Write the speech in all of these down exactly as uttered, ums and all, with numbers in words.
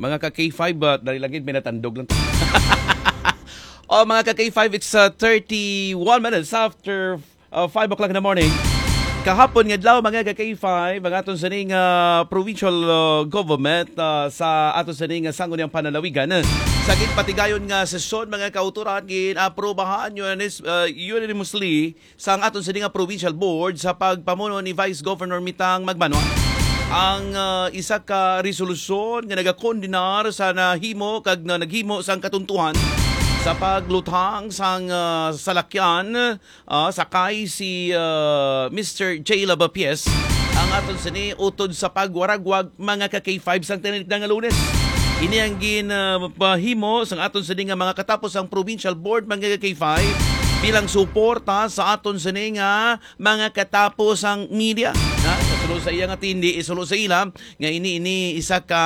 Mga ka K five, ah, dali lang gid, may natandog lang. O, mga ka K five, it's, ah, thirty-one minutes after, ah, five o'clock in the morning. Kahapon nga adlaw, mga ka K five, ang aton sining, ah, provincial, ah, government, ah, sa aton sining, ah, sangguniang panlalawigan, eh, sa ginpatigayon nga sesyon, mga kautoran, gin-aprobahan unanis-, ah, unanimously sang aton sini nga provincial board sa pagpamuno ni Vice Governor Mitang Magbanwa ang, ah, isa ka resolusyon nga nagakondenar sa nahimo kag na naghimo sang katuntuhan sa pagluthang sang, ah, salakyan, ah, sakay si, ah, Mister J Lavapies ang aton sini utod sa pagwaragwag mga ka K five sang tinalikdan nga Lunes. Ini ang ginpahimo sang aton sini nga mga katapos ang provincial board mga ka K five bilang suporta sa aton sini nga mga katapos ang media. Na, isulo sa iya nga tindi, isulo sa ila nga ini, ini isa ka,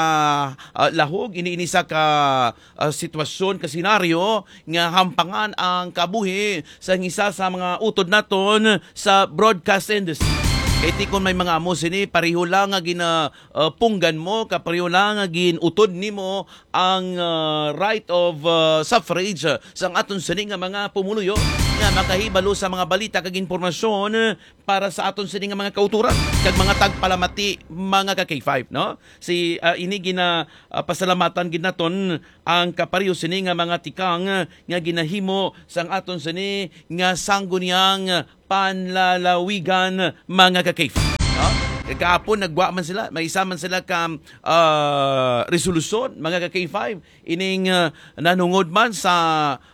ah, lahog, ini, ini isa ka, ah, sitwasyon, ka senaryo nga hampangan ang kabuhi sa isa sa mga utod naton sa broadcast industry. Kay ti kon may mga amo sini, pareho lang nga gina, ah, punggan mo, kapareho lang nga ginutod nimo ang, ah, right of, ah, suffrage, ah, sang aton sini nga mga pumuluyo nga makahibalo sa mga balita kag impormasyon para sa aton sini nga mga kauturan kag mga tagpalamati, mga ka K five, no? Si, ah, ini gina, ah, pasalamatan gid naton ang kapareho sini nga mga tikang nga ginahimo sang aton sini nga sangguniang panlalawigan, mga ka K five. No? Kagahapon, nagwa man sila, may isa man sila ka, ah, resolusyon, mga ka K five, ining, ah, nanungod man sa,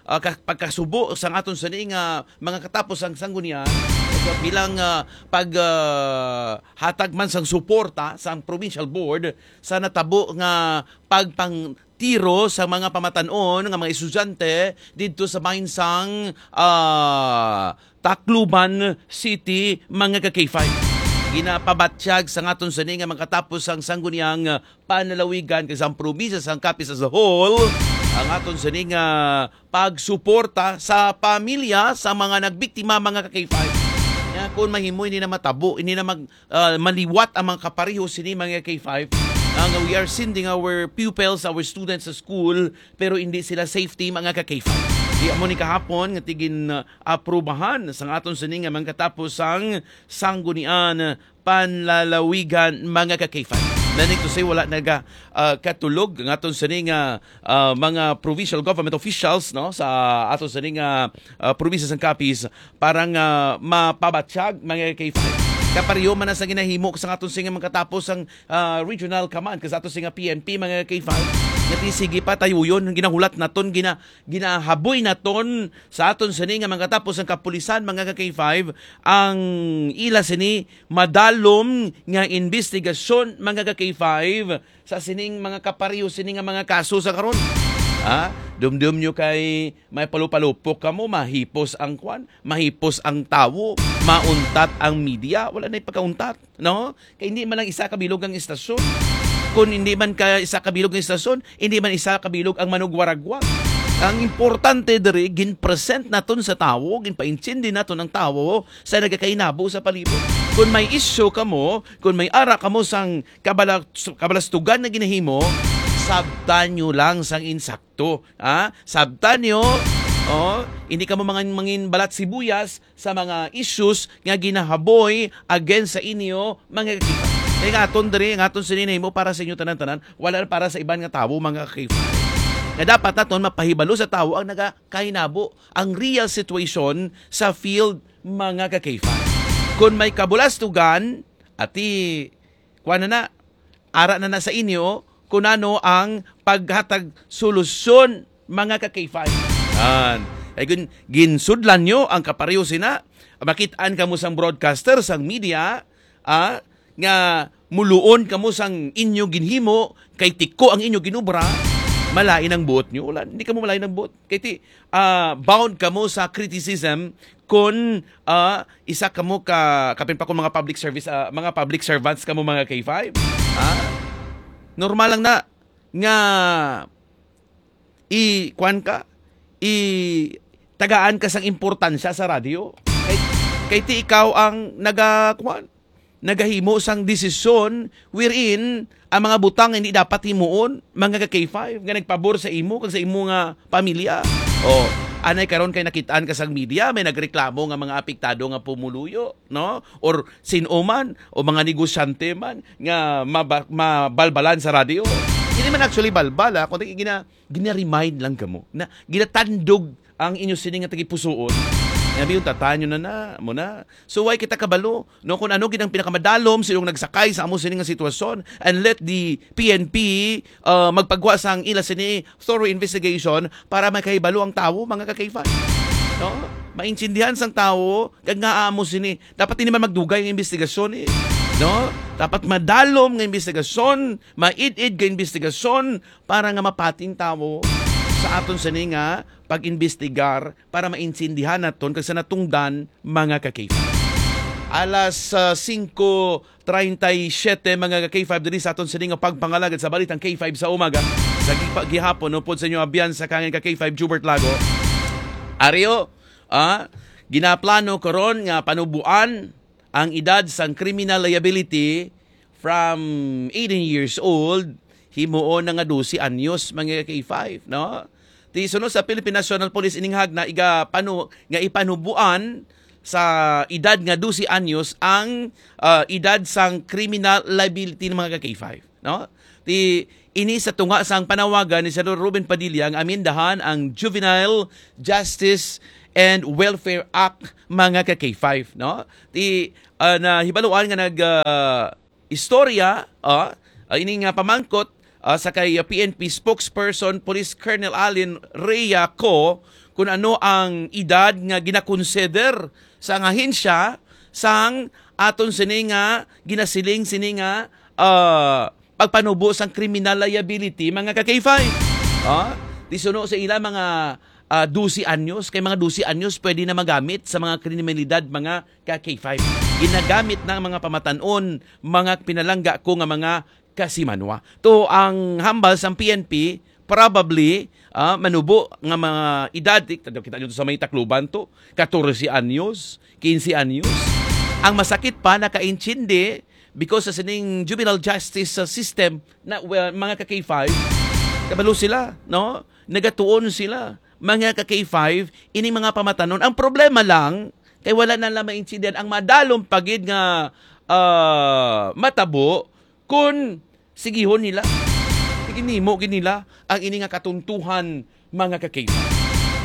ah, ka-, pagkasubo sang aton sini nga mga katapos ang sanggunian bilang, ah, pag, ah, hatag man sang suporta sang provincial board sa natabo nga pagpang tiro sa mga pamatan-on nga mga estudyante didto sa bahin sang, ah, Tacloban City, mga ka K five. Ginapabatyag sa aton sini nga makatapos ang sangguniang panlalawigan kag sang probinsya sang Capiz as a whole ang aton sini nga pagsuporta sa pamilya sa mga nagbiktima, mga ka K five. Nga kung mahimo, hindi na matabo, hindi na mag-, ah, maliwat ang mga kapareho sini, mga K five, nga we are sending our pupils, our students sa school, pero hindi sila safety, mga ka K five. Di amo ni kahapon nga tigin, ah, aprubahan sang aton sini nga mga katapos sang sanggunian panlalawigan, mga ka K five. Meaning to say, wala naga, ah, katulog ang aton sini nga, ah, mga provincial government officials, no, sa aton sini nga, ah, probinsya sang Capiz para nga mapabatyag, mga K five. Kapareho man na sa ginahimo sa aton sini nga mga katapos ang, ah, regional command, kag sa aton sini nga P N P, mga K five, nga ti sige pa tayuyon ang ginahulat naton, gina-, ginahaboy naton sa aton sini nga mga katapos ang kapulisan, mga ka K five, ang ila sini madalom nga investigasyon, mga ka K five, sa sining mga kapareho sini nga mga kaso sa karon. Ha? Dumdum nyo kay may palupalupok kamo, mahipos ang kwan, mahipos ang tawo, mauntat ang media, wala na pagkauntat, no? Kay hindi man lang isa ka bilog ang istasyon. Kung hindi man ka isa ka bilog ang istasyon, hindi man isa ka bilog ang manugwaragwag. Ang importante diri, gin-present naton sa tawo, ginpaintindi naton ang tawo sa nagakainabo sa palibot. Kung may isyu kamo, kung may ara kamo sang kabala-, kabalastugan na ginahimo, sabtan nyo lang sang insakto. Ha? Sabtan nyo, oh, hindi kamo mga mangin balat sibuyas sa mga issues nga ginahaboy against sa inyo, mga kakita. Kaya nga aton diri, nga aton sini nahimo para sa inyo tanan-tanan, wala para sa iban nga tawo, mga kakita. Nga dapat naton mapahibalo sa tawo ang nagakainabo, ang real situation sa field, mga kakita. Kung may kabulastugan, ati, kuha na na, ara na na sa inyo kung ano ang paghatag solusyon, mga ka K five. Yan. Ay, gun-, ginsudlan nyo ang kapareho sina, makitaan kamo sang broadcaster, sang media, ah, nga muluon kamo sang inyo ginhimo, kay tiko ang inyo ginobra, malain ang buot nyo. Wala, hindi kamo malain ang buot. Kay ti-, ah, bound kamo sa criticism kung, ah, isa kamo ka, kapin pa kung mga public service, ah, mga public servants kamo, mga K five. Ha? Normal lang na nga i-, kwan ka, i-, tagaan ka sang importansya sa radyo. Kay, kay ti ikaw ang naga-, kwan, nagahimo sang desisyon wherein ang mga butang nga hindi dapat himuon, mga ka K five, nga nagpabor sa imo kag sa imo nga pamilya. O, anay karon kay nakitaan ka sang media, may nagreklamo nga mga apektado nga pumuluyo, no? Or sin-o man, o mga negosyante man nga maba-, mabalbalan sa radyo. Hindi man actually balbal, ah, kundi gina-, gina-remind lang kamo na ginatandog ang inyo sini nga tagipusoon. Nga biyon, tatanyo na na, mo na. So, why kita kabalo, no? Kung ano gid ang pinakamadalom sa inyong nagsakay sa amo sini nga sitwasyon, and let the P N P, uh, magpagwa sang ila sini thorough investigation para makahibalo ang tawo, mga ka-K five. No? Maintindihan sang tawo kag nga amo sini. Dapat hindi man magdugay ang investigasyon, eh. No? Dapat madalom nga investigasyon, maid-id nga investigasyon para nga mapating tawo sa aton sini nga pag-imbestigar para maintindihan naton kag sa natungdan, mga ka-K five. Alas, ah, singko treinta y siete, mga ka-K five, diri sa aton sini nga pagpangalagad sa balitang K five sa umaga. Sa gipa-, gihapon, upod sa inyo abyan sa kangin ka K five, Jubert Lago. Ario, ah, ginaplano karon nga panubuan ang edad sang criminal liability from eighteen years old, himuon na nga dose anyos, mga K five, no? Ti sunod sa Philippine National Police, ining hagna iga panu-, nga ipanubuan sa edad nga dose anyos ang, ah, edad sang criminal liability ng mga K five, no? Ti ini sa tunga sang panawagan ni Senador Robin Padilla nga amendahan ang Juvenile Justice and Welfare Act, mga ka K five, no? Ti, ah, nahibaluan nga nag, ah, istorya, ah, ah, ini nga pamangkot, ah, sa kay, ah, P N P spokesperson Police Colonel Allen Rhea Co kung ano ang edad nga ginakonsider sang ahensya sang aton sini nga ginasiling sini nga, ah, pagpanubo sang criminal liability, mga ka K five. Ah, ti suno sa ila mga, ah, dose anyos, kay mga dose anyos pwede na magamit sa mga kriminalidad, mga ka K five. Ginagamit na ang mga pamatan-on, mga pinalangga ko nga mga kasimanwa. To ang hambal sang P N P, probably, ah, manubo nga mga edad, ti-, kita nyo to sa may Tacloban to, katorse anyos, kinse anyos. Ang masakit pa, nakaintindi, because sa sining juvenile justice, ah, system, na, well, mga ka K five, kabalo sila, no? Nagatuon sila. Mga ka K five, ini mga pamatanon. Ang problema lang, kay wala na lang maintindihan ang madalom pa gid nga, ah, matabo kung sigihon nila. Ginimo gid nila ang ini nga katuntuhan, mga ka K five.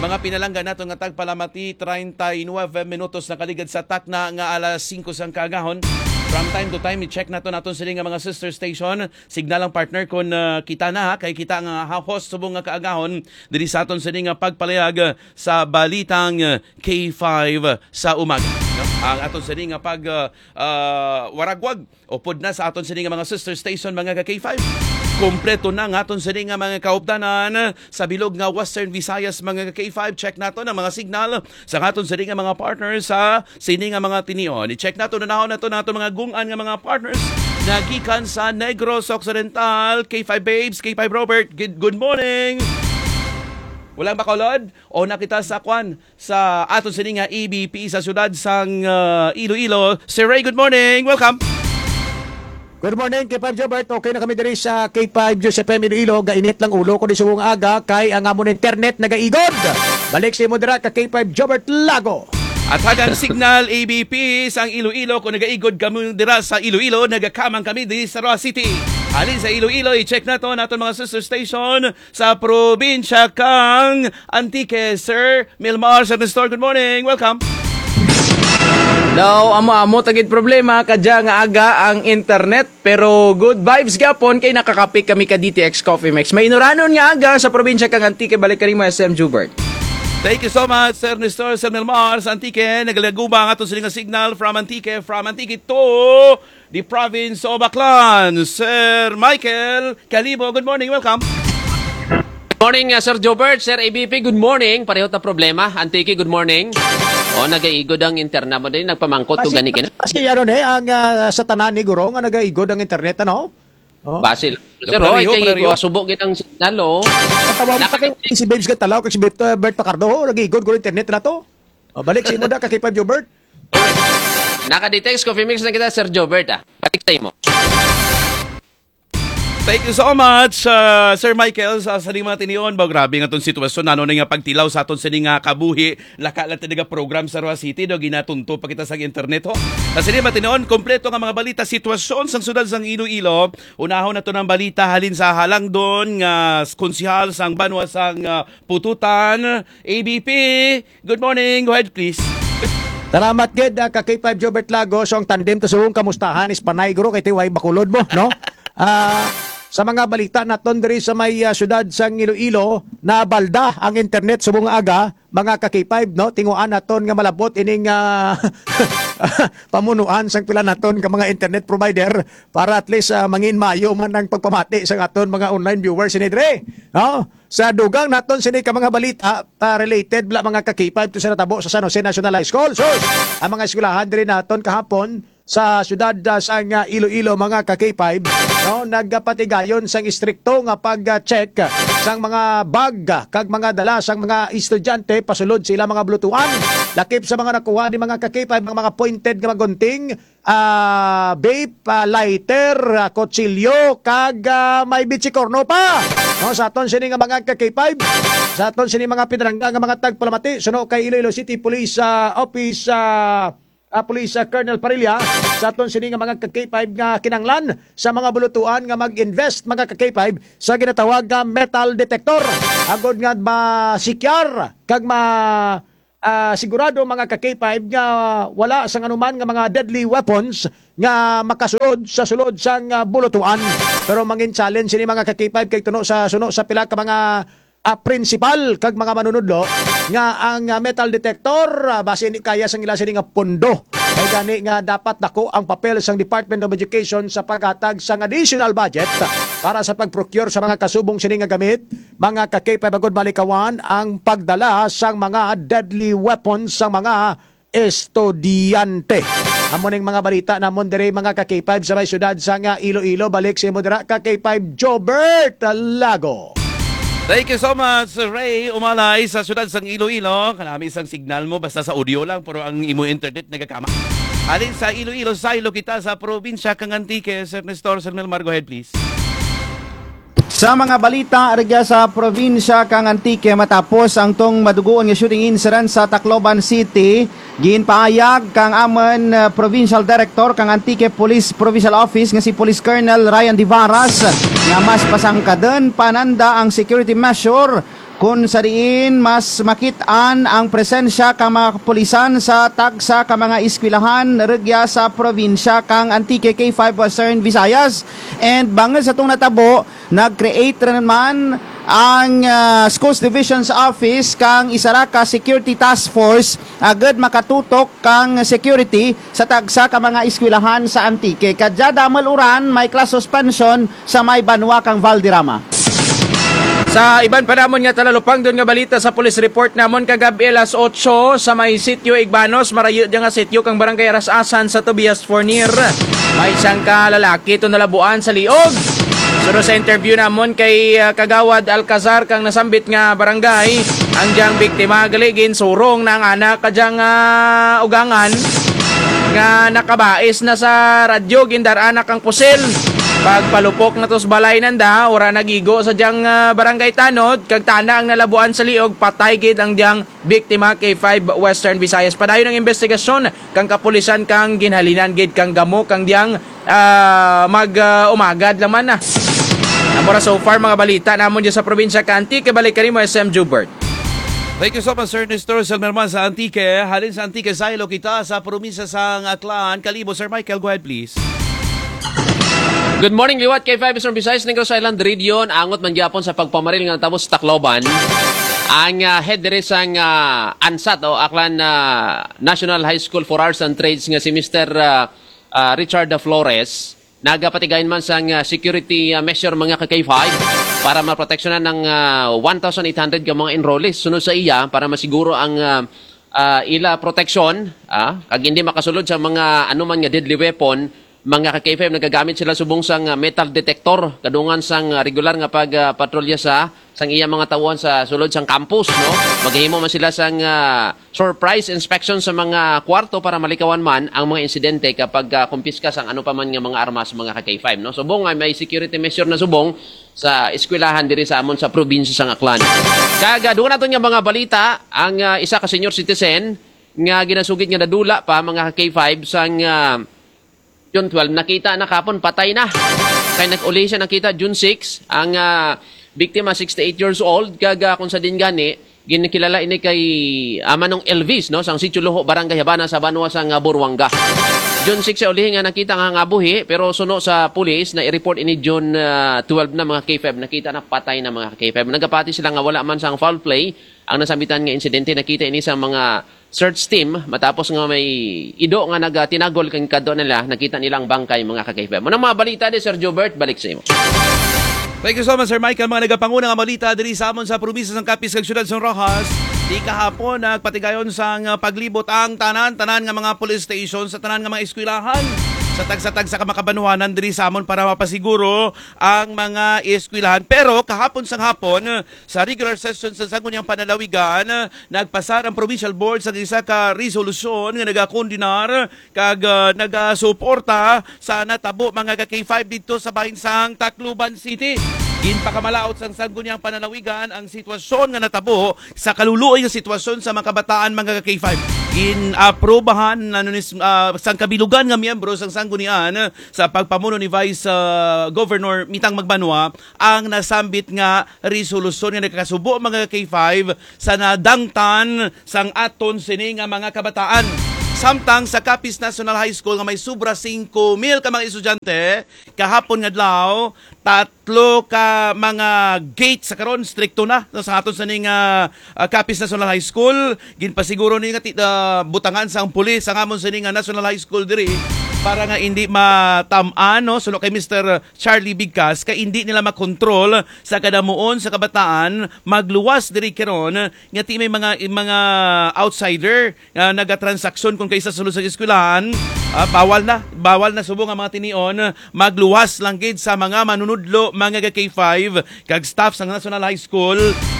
Mga pinalangga nato nga tagpalamati, treinta y nueve minutos na kaligad sa takna nga alas singko sang kaagahon. From time to time, i-check nato naton sini nga mga sister station. Signal ang partner kon, ah, kita na, ha, kay kita nga ha-, host subong nga kaagahon diri sa aton sini nga pagpalayag, ah, sa balitang, ah, K five sa umaga, no? Ang aton sini nga pag, ah, ah, waragwag upod na sa aton sini nga mga sister station, mga ka K five. Kompleto na nga aton sini nga mga kaupdanan sa bilog nga Western Visayas, mga ka K five. Check nato ang mga signal sa aton sini nga mga partners sa sini nga mga tinion. I-check nato, nanahon nato nato mga gung-an nga mga partners na gikan sa Negros Occidental. K five Babes, K five Robert, good, good morning. Walang Bacolod? O na kita sa kwan, sa aton sini nga E B P sa siyudad sang, ah, Iloilo. Sir Ray, good morning. Welcome. Good morning, K five Jobert. Okay na kami diri sa K five News F M Iloilo. Gainit lang ulo ko di subong aga kay ang amon internet nagaigod. Balik sa imo dira ka K five Jobert Lago. At hagang signal, A B P, sang Iloilo, kung nagaigod kamo dira sa Iloilo, nagakamang kami di sa Roa City. Halin sa Iloilo, i-check nato naton mga sister station sa probinsya kang Antique. Sir Milmar, Sir Nestor, good morning. Welcome. Daw, amo-amo tagid problema, kadya nga aga ang internet, pero good vibes gyapon kay nakakapik kami ka D T X Coffee Mix. Mainuranon nga aga sa probinsya kang Antique, balik kanimo, S M Jubert. Thank you so much, Sir Nestor, Sir Milmar, sa Antique. Nagalaguba ang aton sining nga signal from Antique, from Antique to the province of Aklan. Sir Michael Calibo, good morning, welcome. Morning, uh, Sir Jobert, Sir A B P, good morning. Pareho ta problema. Antique, good morning. O, nagaigod ang internet mo din. Nagpamangkot ko gani kina. Kasi ano ni, ang ah, sa tanan ni Guro nga nagaigod ang internet, ano? Oh. Basil. Sir, pareho, oy, kay pareho. Subo gid ang signal, oh. Ang tawag pa kay si Babes Gantalaw, kay si Bert, uh, Bert Pacardo, oh, nag-igod ko internet na to. Oh, balik si Imoda, kay Five Jobert. Naka-detect, confirm mix na kita, Sir Jobert, ah. Balik sa imo. Thank you so much, uh, Sir Michael. Sa, sa mga tinion ba, grabe nga itong sitwasyon. Ano na nga pagtilaw sa aton sini nga kabuhi? Laka lang talaga program sa Roa City, do, ginatunto pa kita sa internet, ho. Sa sini mga tinion, kompleto nga mga balita, sitwasyon sa sudad sang Iloilo. Unahon nato ng balita halin sa halangdon nga konsehal sang banwa sang, uh, Pututan, A B P. Good morning. Go ahead, please. Salamat gid, ah, ka K five Jobert Lago. So, ang tandem to subong kamustahan is panay, guro, kay tiway bakulod mo, no? Ah, sa mga balita naton diri sa may, ah, syudad sang Iloilo, nabalda ang internet subong aga, mga ka K five, no? Tinguan naton nga malabot ining, ah, pamunuan sang pila naton ka mga internet provider para at least, ah, mangin maayo man ang pagpamati sa aton mga online viewers ini diri, no? Sa dugang naton sini ka mga balita, ah, related bala, mga ka K five, to sa natabo sa San Jose National High School. So, ang mga eskwelahan diri naton kahapon sa siyudad, ah, sang, ah, Iloilo, mga ka K five, no, nagapatigayon sang istrikto nga pag-check sang mga bag, ah, kag mga dala sang mga estudyante pasulod sa ilang mga bulutuan. Lakip sa mga nakuha ni mga ka K five, ang mga pointed nga mga gunting, ah, vape, ah, lighter, ah, kutsilyo, kag, ah, may bitsikorno pa. No, sa aton sini nga mga ka K five, sa aton sini mga pinarangga nga mga tagpalamati, suno kay Iloilo City Police, ah, Office, ah, ah, Police, ah, Colonel Parilla, sa aton sini nga mga ka K five nga kinanglan sa mga bulutuan nga mag-invest, mga ka K five, sa ginatawag nga metal detector, agod nga masikyar kag ma ah, sigurado, mga ka K five, nga wala sang anuman nga mga deadly weapons nga makasulod sa sulod sang, ah, bulutuan. Pero mangin challenge sini, mga ka K five, kay tuno sa, suno sa pila ka mga, ah, principal kag mga manunudlo nga ang, ah, metal detector, ah, basi hindi kaya sang ila sini nga pondo. Kay gani nga dapat dako ang papel sang Department of Education sa paghatag sang additional budget para sa pag-procure sa mga kasubong sini nga gamit, mga ka K five, agod malikawan ang pagdala sang mga deadly weapons sa mga estudyante. Amo ning mga balita namon diri, mga ka K five, sa may siyudad sang Iloilo. Balik sa imo dira, ka K five Jobert Lago. Thank you so much, Ray Umalay, sa siyudad sang Iloilo. Kanami sang signal mo, basta sa audio lang, pero ang imo internet nagakama. Alin sa Iloilo, saylo kita sa probinsya kang Antique. Sir Nestor, Sir Melmar, go ahead, please. Sa mga balita rugya sa probinsya kang Antique, matapos ang tong maduguon nga shooting incident sa Tacloban City, ginpaayag kang amon, uh, Provincial Director kang Antique Police Provincial Office nga si Police Colonel Ryan Divaras nga mas pasangkaden pa nanda ang security measure, kun sa diin mas makit-an ang presensya ka mga kapulisan sa tagsa ka mga eskwelahan rugya sa probinsya kang Antique, K five Western Visayas. And bangod sa tong natabo, nag-create ra naman ang, ah, Schools Division's Office kang isa ra ka security task force agud makatutok kang security sa tagsa ka mga eskwelahan sa Antique. Kadya damel uran may class suspension sa may banwa kang Valderrama. Sa iban pa namon nga talalupangdon nga balita, sa police report namon kagab-i alas otso sa may sitio Igbanos, marayo dya nga sitio kang Barangay Aras-asan sa Tobias Fornier. May isang ka lalaki to nalabuan sa liog. Suno sa interview namon kay, ah, Kagawad Alcazar kang nasambit nga barangay, ang diyang biktima gali ginsurong na ang anak ka diyang, ah, ugangan nga nakabais na sa radyo, gindar-an na kang pusil. Pagpalupok na to sa balay nanda, ora nagigo sa diyang, ah, barangay tanod, kag tana ang nalabuan sa liog, patay gid ang diyang biktima kay five Western Visayas. Padayon ang investigasyon kang kapulisan kang ginhalinan gid kang gamo kang diyang, ah, mag, ah, umagad lang man na. Amo ra so far mga balita namon dyan sa probinsya ka Antique. Balik kanimo, S M Jubert. Thank you so much, Sir Nestor Selmerman sa Antique. Halin sa Antique, saylo kita sa probinsya sang Aklan. Kalibo, Sir Michael, go ahead, please. Good morning, liwat kay five Eastern Visayas, Negros Island Region. Angot man gyapon sa pagpamaril nga natabo sa Tacloban. Ang, ah, head diri sang, ah, ANSAT o Aklan, ah, National High School for Arts and Trades nga si Mister, ah, ah, Richard Flores, nagapatigayon man sang, ah, security, ah, measure, mga ka K five, para maproteksyonan ang, ah, one thousand eight hundred ka mga enrollees. Sunod sa iya, para masiguro ang, ah, ah, ila proteksyon, ah, kag hindi makasulod sa mga anuman nga deadly weapon, mga ka K five, nagagamit sila subong sang, ah, metal detector kadungan sang, ah, regular nga pag, ah, patrolya sa sang iya mga tawhan sa sulod sang campus, no? Maghimo man sila sang, ah, surprise inspection sa mga kwarto para malikawan man ang mga insidente kapag, ah, kumpiska sang ano pa man nga mga armas, mga ka-K five, no? Subong nga may security measure na subong sa eskwelahan diri sa amon sa probinsya sang Aklan. Kag, ah, duha naton nga mga balita, ang, ah, isa ka senior citizen nga ginasugid nga nadula pa, mga ka-K five, sang, ah, June twelve, nakita na kapon, patay na. Kay nag-uli siya nakita June six, ang, ah, biktima, sixty-eight years old, kag, ah, kung sa din gani, ginkilala ini kay, ah, Manong Elvis, no, sang Sitio Luho, Barangay Habana, sa banwa sang, ah, Buruanga. June six siya ulihi nga nakita nga, nga buhi, pero suno sa pulis na i-report ini June, ah, twelve na, mga K five, nakita na patay na, mga K five. Nagapati sila nga wala man sang foul play ang nasambitan nga insidente. Nakita ini sa mga search team matapos nga may ido nga nagatinagol kang kadto nila, nakita nila ang bangkay, mga ka-K five. Mao na mga balita ni Sir Jobert, balik sa imo. Thank you so much, Sir Michael. Mga nagapanguna nga balita diri sa amon sa probinsya sang Capiz kag siyudad sang Roxas. Di kahapon nagpatigayon sang, uh, paglibot ang tanan-tanan nga mga police station sa tanan nga mga eskwelahan sa tagsa-tagsa ka makabanwanan diri sa amon para mapasiguro ang mga eskwelahan. Pero kahapon sang hapon, sa regular session sa Sangguniang Panlalawigan, nagpasar ang Provincial Board sa isa ka resolusyon nga nagakondenar kag, ah, nagasuporta sa natabo, mga ka-K five, didto sa bahin sang Tacloban City. Ginpakamalaut sang Sangguniang Panlalawigan ang sitwasyon nga natabo sa kaluluoy nga sitwasyon sa mga kabataan, mga ka-K five. Gin-aprobahan na nunis, ah, sang kabilugan nga miyembro sang Sanggunian sa pagpamuno ni Vice, ah, Governor Mitang Magbanwa ang nasambit nga resolusyon nga nagakasubo, mga ka-K five, sa nadangtan sang aton sini nga mga kabataan. Samtang sa Capiz National High School nga may sobra singko mil ka mga estudyante, kahapon nga adlaw, tatlo ka mga gate sa karon strikto na, no, sa aton sini nga, ah, Capiz National High School. Ginpasiguro ni nga ti-, ah, butangan sang pulis ang amon sini nga National High School diri para nga hindi matam-an, no, suno kay Mister Charlie Bigkas, kay hindi nila makontrol sa kadamuon sa kabataan magluwas diri karon nga ti may mga, mga outsider nga nagatransaksyon kon kay sa sulod sa eskwelahan. Ah, bawal na, bawal na subong ang mga tinion magluwas lang gid sa mga manunudlo, mga ka-K five kag staff sa National High School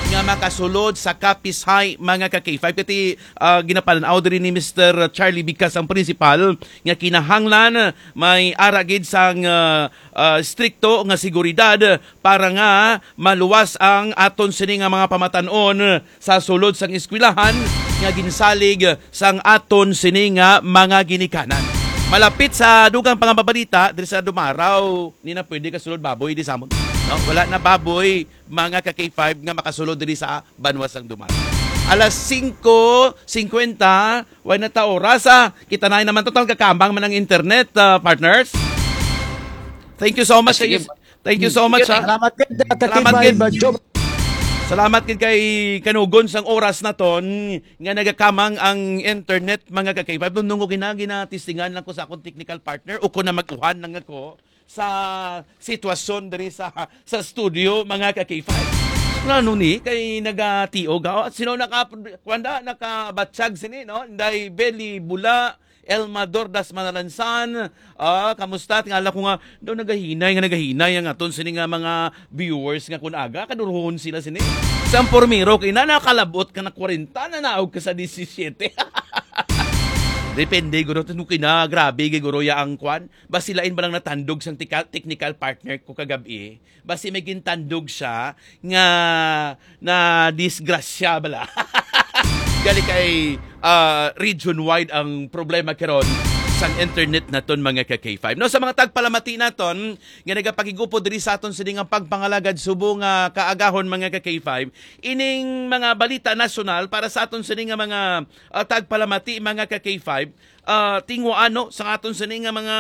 nga makasulod sa Capiz High, mga ka-K five. Kati, ah, ginapalan-aw diri ni Mister Charlie Bigkas, ang principal, nga kinahanglan may ara gid sang, ah, ah, strikto nga seguridad para nga maluwas ang aton sini nga mga pamatan-on sa sulod sang eskwelahan nga ginsalig sang aton sini nga mga ginikanan. Malapit sa dugang pangababalita diri sa Dumaraw, ni na pwede kasulod baboy di samon. No, wala na baboy, mga ka-K five, nga makasulod diri sa banwa sang Dumaraw. Alas singko singkwenta, way na ta oras, ah. Kita na naman to, gakamang man ang internet, ah, partners. Thank you so much. Ah, sige. Thank you so much, ha. Salamat gid, ah, Salamat Kakibay gid. Badjo. Salamat gid kay kanugon sang oras naton nga nagakamang ang internet, mga ka-K five. Nung gina-, ginatistingan lang ko sa akong technical partner, o ko na mag-uhan lang ako sa sitwasyon diri sa, sa studio, mga ka-K five. Ano ni, kay nagatiog, ha? Sino naka-, kuwan da, nakabatsag sini, no? Inday Belly Bula, Elma Dordas Manalansan, ah, kamusta? Tingala ko nga, daw nagahinay nga nagahinay ang aton sini nga mga viewers nga kun aga, kaduruhon sila sini. Sa pormero, kay na nakalabot ka na kwarenta, na naog ka sa disisiete. Depende, guro, to kina, grabe, guro, ya ang kwan. Basi lain ba lang natandog sang tika-, technical partner ko kagabi? Basi may gintandog siya nga na disgrasya bala. Gali kay, ah, region-wide ang problema karon sang internet naton, mga ka-K five. No, sa mga tagpalamati naton nga nagapakig-upod diri sa aton sini nga pagpangalagad subong nga kaagahon, mga ka-K five, ining mga balita nasyonal para sa aton sini nga mga, ah, tagpalamati, mga ka-K five, ah, tinguano sa aton sini nga mga,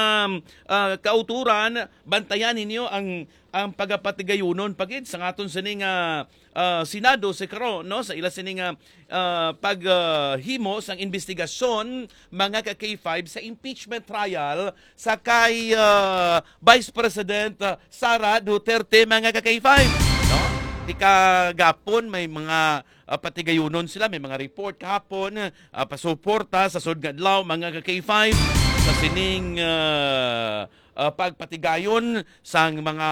ah, kauturan, bantayan ninyo ang, ang pagapatigayunon pa gid sa aton sini nga, ah, Senado sa karon, no, sa ila sini nga, ah, pag, ah, himo sang investigasyon, mga ka-K five, sa impeachment trial sa kay, ah, Vice President, ah, Sara Duterte, mga ka-K five, no? Di kagapon may mga, ah, patigayunon sila, may mga report kahapon, ah, pasuporta sa sud nga adlaw, mga ka-K five, sa sining, ah, ah, pagpatigayon sang mga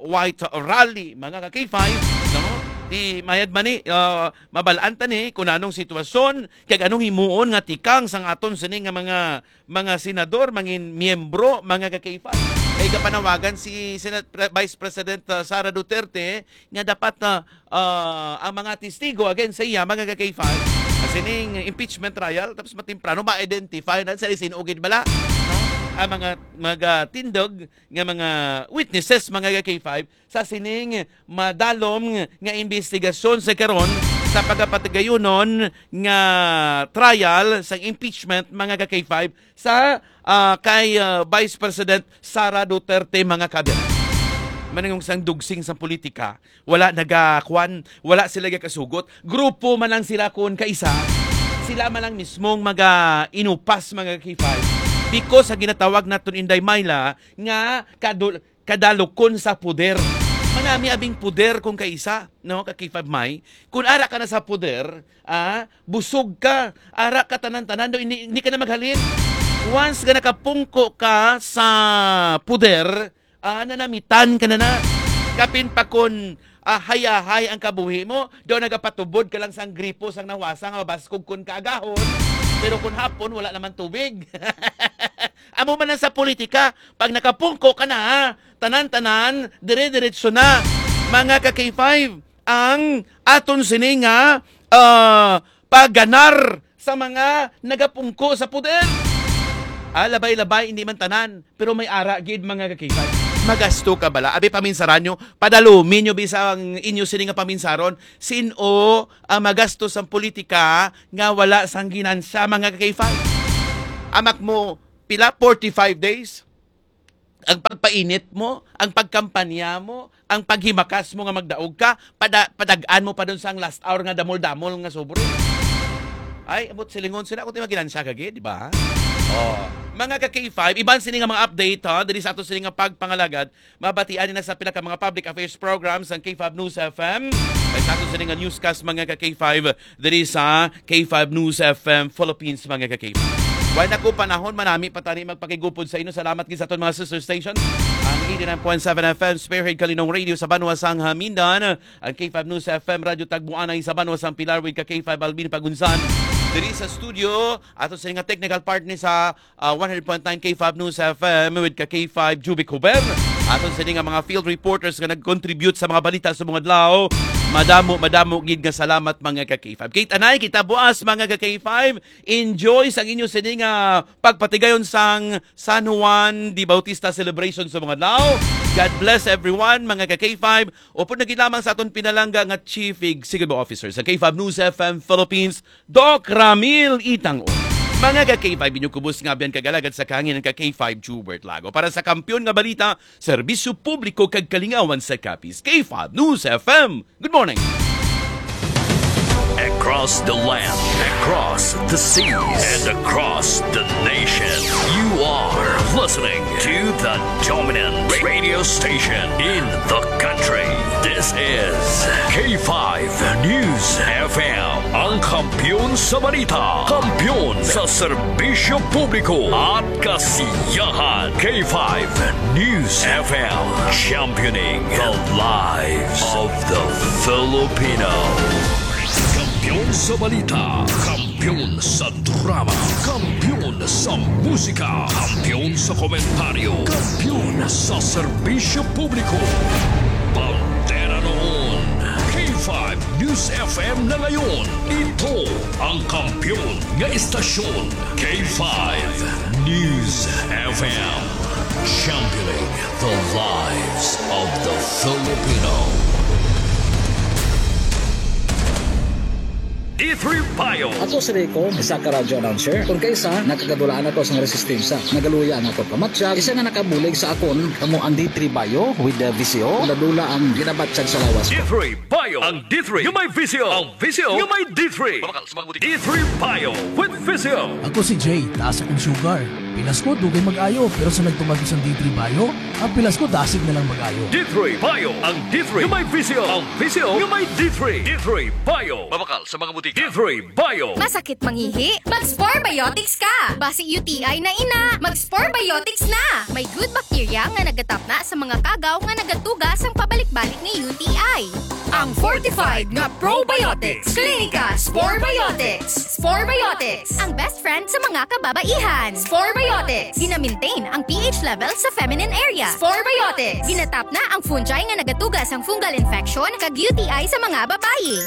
white rally, mga ka-K five, no? Di mayad man ni, ah, mabal-an ta ni kung anong sitwasyon, kag anong himuon nga tikang sang aton sini nga mga, mga senador, mga miyembro, mga ka-K five. Kay gapanawagan si Senate Pre-, Vice President, ah, Sara Duterte nga dapat, ah, ah, ang mga testigo against sa iya, mga ka-K five, sa sining impeachment trial, tapos matemprano ma-identify na sa isin-ugid bala, no? Ang mga, mga tindog nga mga witnesses, mga ka-K five, sa sining madalom nga investigasyon sa karon sa pagapatigayunon nga trial sa impeachment, mga ka-K five, sa, ah, kay, ah, Vice President Sara Duterte, mga kaabyanan. Maningong sang dugsing sa politika, wala nagakwan, wala sila gakasugot. Grupo man lang sila kun kaisa. Sila man lang mismong maga-inupas, mga ka-K five. Because sa ginatawag naton, Inday Myla, nga kadul-, kadalukon sa poder. Manami abing poder kung kaisa, no, ka-K five May. Kung ara ka na sa poder, ah, busog ka, ara ka tanan-tanan, do, hindi, hindi ka na maghalin. Once nga nakapungko ka sa poder, ah, nanamitan ka na na. Kapin pa kun, ah, hayahay ang kabuhi mo, do nagapatubod ka lang sang gripo sang nawasa nga mabaskog kun kaagahon. Pero kun hapon, wala naman tubig. Amo man lang sa politika, pag nakapungko ka na, ha, tanan-tanan, dire-diretso na. Mga ka-K five, ang aton sini nga, ah, pagganar sa mga nagapungko sa poder. Ah, labay-labay, hindi man tanan, pero may ara gid, mga ka-K five. Magasto ka bala? Abi, paminsaran nyo, padalumi nyo bisang inyo sini nga paminsaron. Sin-o ang magastos sang politika nga wala sang ginansya, mga ka-K five? Amak mo, pila? Forty-five days? Ang pagpainit mo, ang pagkampanya mo, ang paghimakas mo nga magdaog ka, pada-, padag-an mo pa dun sang last hour nga damol-damol nga sobre. Ay, abot silingon sila, ako ti maginansya ka gid, di ba? Oh, mga ka-K five, iban sini nga mga update, ha, diri sa ato sini nga pagpangalagad, mabatian na sa pila ka mga public affairs programs ang K five News F M. Kay sa ato sini nga newscast, mga ka-K five, diri sa K five News F M Philippines, mga ka-K five. Wala na ko panahon, manami pa tani magpakigupod sa inyo. Salamat gid sa aton mga sister station, ang eighty-nine point seven F M Spearhead Kalinong Radio sa banwa sang Hamindan, ang K five News F M Radio Tagbuanay sa banwa sang Pilar with ka K five Alvin Pagunsan. Diri sa studio, ato sa nga technical partner sa, ah, one hundred point nine K five News F M with ka K five Jubic Huber. Ato sa nga mga field reporters nga nag-contribute sa mga balita sa mga adlaw. Madamo, madamo gid nga salamat, mga ka K five. Kay tanay kita buas, mga ka K five. Enjoy sang inyo sini nga pagpatigayon sang San Juan de Bautista celebration sa mga adlaw. God bless everyone, mga ka K five. Upod na gid lamang sa aton pinalangga nga Chief Executive Officer sa K five News F M Philippines, Doc Ramil Itang. Mga ka K five, inyo kubos nga abyan kag alagad sa kahangin ang ka K five Jubert Lago. Para sa Kampiyon nga Balita, Serbisyo Publiko kag Kalingawan sa Capiz, K five News F M. Good morning. Across the land, across the seas, and across the nation, you are listening to the dominant radio station in the country. This is K five News F M, ang kampiyon sa balita, kampiyon sa serbisyo publiko at kasiyahan. K five News F M, championing the lives of the Filipino. Kampiyon sa balita, kampiyon sa drama, kampiyon sa musika, kampiyon sa komentaryo, kampiyon sa serbisyo publiko. Bandera noon, K five News F M na ngayon. Ito ang kampiyon nga istasyon, K five News F M. Championing the lives of the Filipino. D three Bio. Ako si Rico, isa ka radyo announcer. Kung kaisa, nakagadulaan ako sa resistensya. Nagaluya ang akong pamatyag. Isa nga nakabulig sa akon, kamo ang D three Bio with the V C O. Dula-dula ang ginabatyag sa lawas ko. D three Bio. Ang D three nga may V C O. Ang V C O nga may D three. Mabakal sa mga butika. D three Bio with V C O. Ako si Jay, taas akong sugar. Pilas ko, dugay mag-ayo, pero sa nagtumag ko sang D three Bio, ang pilas ko dasig na lang mag-ayo. D three Bio, ang D three nga may V C O, ang V C O nga may D three. D three Bio. Mabakal sa mga butika. D three Bio. Masakit mangihi? Mag-Spore Biotics ka! Basi U T I na ina, mag-Spore Biotics na! May good bacteria nga nagatapna sa mga kagaw nga nagatuga sang pabalik-balik nga U T I. Ang fortified nga probiotics. Klinika Spore Biotics. Spore Biotics, ang best friend sa mga kababaihan. Spore Biotics. Gina-maintain ang P H level sa feminine area. Spore Biotics. Ginatap na ang fungi nga nagatuga sang fungal infection kag U T I sa mga babayi.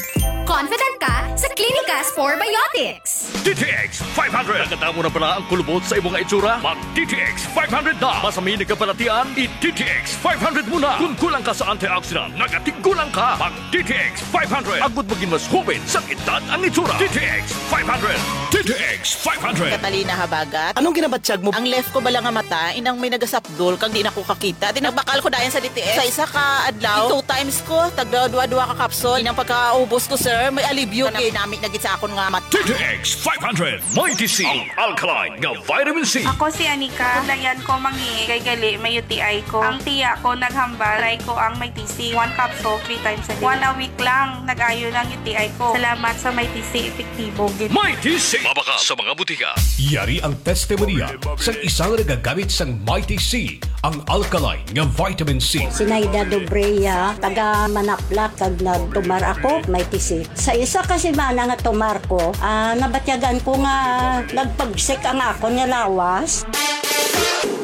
Confident ka sa Klinika Spore Biotics. D T X five hundred. Nakadamo na bala ang kulubot sa imo nga itsura? Mag D T X five hundred na. Masami nagkabalatian, i D T X five hundred mo na. Kung kulang ka sa antioxidant, nagatigulang ka. Mag D T X five hundred. Agud maging mas hoben sang edad ang itsura. D T X five hundred. D T X five hundred. Catalina Habagat. Anong ginabatyag mo? Ang left ko bala nga mata, inang may nagasapdol, kag di na ko kakita. Di nagbakal ko dayon sa D T X. Sa isa ka adlaw, two times ko, tagda dua-dua ka kapsul. Inang pagkaubos ko, sir, may alibyo. Kanami-nami na gid sa akon nga mata. D T X five hundred, Mighty C, ang alkaline nga vitamin C. Ako si Anika. Dayan ko mangi kay gali may U T I ko. Ang tiya ko naghambal, try ko ang Mighty C. One capsule, three times a day. One a week lang, nag-ayo ng U T I ko. Salamat sa Mighty C, epektibo gid. Mighty C. Mabakal sa mga butika. Yari ang testimonya sang isang nagagamit sang Mighty C, ang alkaline nga vitamin C. Sinaida Dobrea, taga Manaplat, kag nagtumar ako, Mighty C. Sa isa ka semana nga tumar ko, ah, nabatyagan ko nga nagpagsik ang akon nga lawas.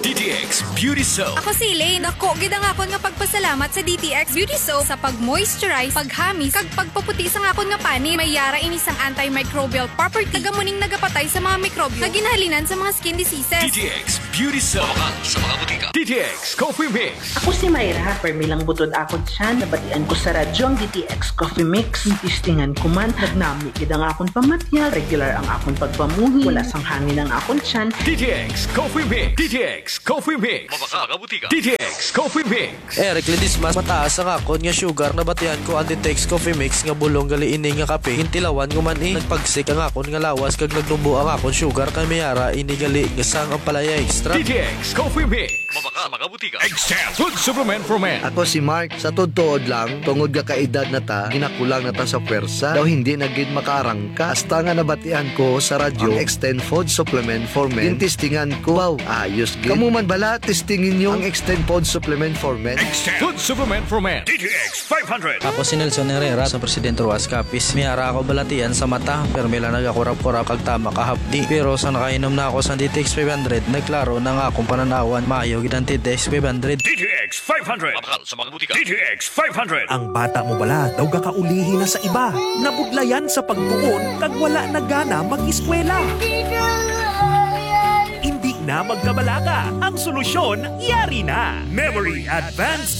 D T X Beauty Soap. Ako si Elaine. Dako gid ang akon nga pagpasalamat sa D T X Beauty Soap sa pag-moisturize, paghamis, kag pagpaputi sang akon nga panit. May yara ini sang antimicrobial property. Taga muning nagapatay sa mga mikrobyo nga ginahalinan sa mga skin diseases. D T X Beauty Soap. Mabakal sa mga butika. D T X Coffee Mix. Ako si Myra, permi lang butod akon tiyan. Nabatian ko sa radyo ang D T X Coffee Mix. Testingan ko man, nagnami gid ang akon pamatyag, regular ang akon pagpamuhi, wala sang hangin ang akon tiyan. D T X Coffee Mix. D T X Coffee Mix. Mabakal sa mga butika. D T X Coffee Mix. Eric Ledesma, mataas ang akon nga sugar. Nabatian ko ang D T X Coffee Mix nga bulong gali ini nga kape. Gintilawan ko man, eh. Nagpagsik ang akon nga lawas kag nagnubo ang akon sugar, kay may ara ini gali nga sang ampalaya extract. D T X Coffee Mix. Mabakal sa mga butika. Extend Food Supplement for Men. Ako si Mark. Sa tuod-tuod lang, tungod nga kaedad na ta, ginakulang na ta sa pwersa. Daw hindi na gid makaarangka. Hasta nga nabatian ko sa radyo ang Extend Food Supplement for Men. Gintistingan ko. Wow, ayos gid. Kamo man bala, testingi ninyo ang Extend Food Supplement for Men. Extend Food Supplement for Men. D T X five hundred. Ako si Nelson Herrera sa Presidente Roxas Capiz. May ara ako balatian sa mata, pero may lang nagakurap-kurap kag tama kahapdi. Pero sa nakainom na ako sa D T X five hundred, nagklaro na nga akong pananawan. Maayo gid ang D T X five hundred. D T X five hundred. Mabakal sa mga butika. D T X five hundred. Ang bata mo bala daw gakaulihi na sa iba, nabudlayan sa pagtuon kag wala na gana mag-eskwela? Hindi na magkabalaka. Ang solusyon, yari na. Memory Advanced